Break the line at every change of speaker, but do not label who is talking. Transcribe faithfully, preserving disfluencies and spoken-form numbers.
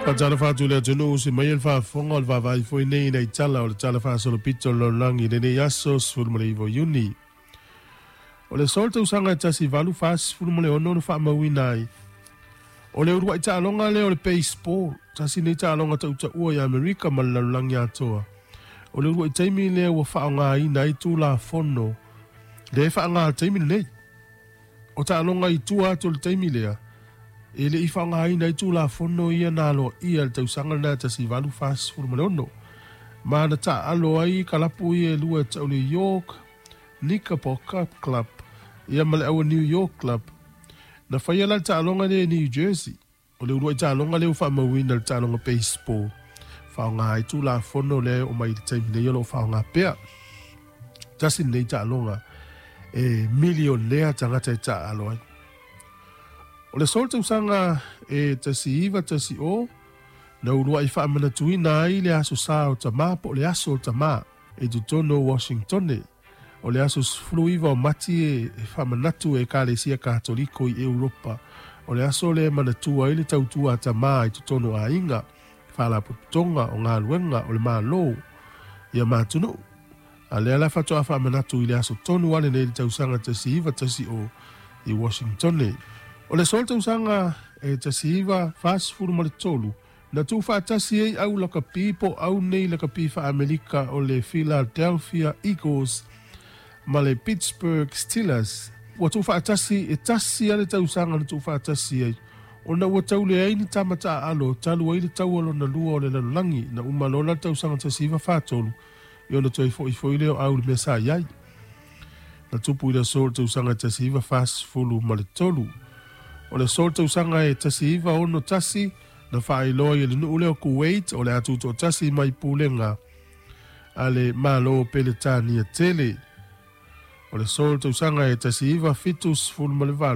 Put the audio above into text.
Faatalofa atu i le atunuu se mai e le faafofoga o le vaavaai foi nei ina i tala o le tala faasolopito o le lalolagi i lenei aso sefulu ma le iva o Iuni. O le aso o le tausaga e tasi valu fasefulu ma le ono na faamauina ai o le uluai taaloga lea o le baseball, tasi nei taaloga tautaua i Amerika ma le lalolagi atoa. O le uluai taimi lea ua faaaogaina ai Tulafono lea e faaaoga i le taimi lenei. O taaloga i tua atu o le taimi lea, e le i faaaogaina ai Tulafono ia na aloaia i le tausaga lena e tasi valu fasefulu ma le ono, ma na taaalo ai kalapu ia e lua e tau le York Knickerbocker Club ia ma le Aua New York Club. Na faia la le taaloga lea i New Jersey. O le uluai taaloga lea ua faamauina i le taaloga baseball, faaaoga ai Tulafono lea e oo mai i le taimi nei o lo o faaaoga pea. Tasi lenei taaloga e milionea tagata e taaalo ai. O le aso o le tausaga e tasi iva tasi o, na uluai faamanatuina ai le aso sa o tamā po o le aso o tamā i totonu o Washingtone. O le aso sefulu iva o Mati e faamanatu e Ekalesia Katoliko i Europa. O le aso lea e manatua ai le tautua a tamā i totonu o aiga, faalapotopotoga, o galuega, o le Malo, ia ma atunuu. A lea la faatoa faamanatu i le aso tonu lava lenei i le tausaga tasi iva tasi o i Washingtone. O le aso o le tausaga e tasi iva fasefulu ma le tolu, na tuufaatasi ai au lakapi po o au nei lakapi faa-Amerika o le Philadelphia Eagles ma le Pittsburgh Steelers. Ua tuufaatasi e tasi lava le tausaga na tuufaatasi ai, ona ua tau leai ni tama taaalo talu ai le taua lona lua o le lalolagi na uma loa la le tausaga tasi iva fa tolu i ona toe foifoi lea o au i le mea sa i ai. Na tupu i le aso o le tausaga e tasi iva fasefulu ma le tolu. O le aso o le tausaga e tasi iva ono tasi na faailoa ai e le nuu lea o Kuwait o le a tutoatasi mai pulega a le Malo o Peletania tele. O le aso o le tausaga e tasi iva fitu sefulu ma le valu,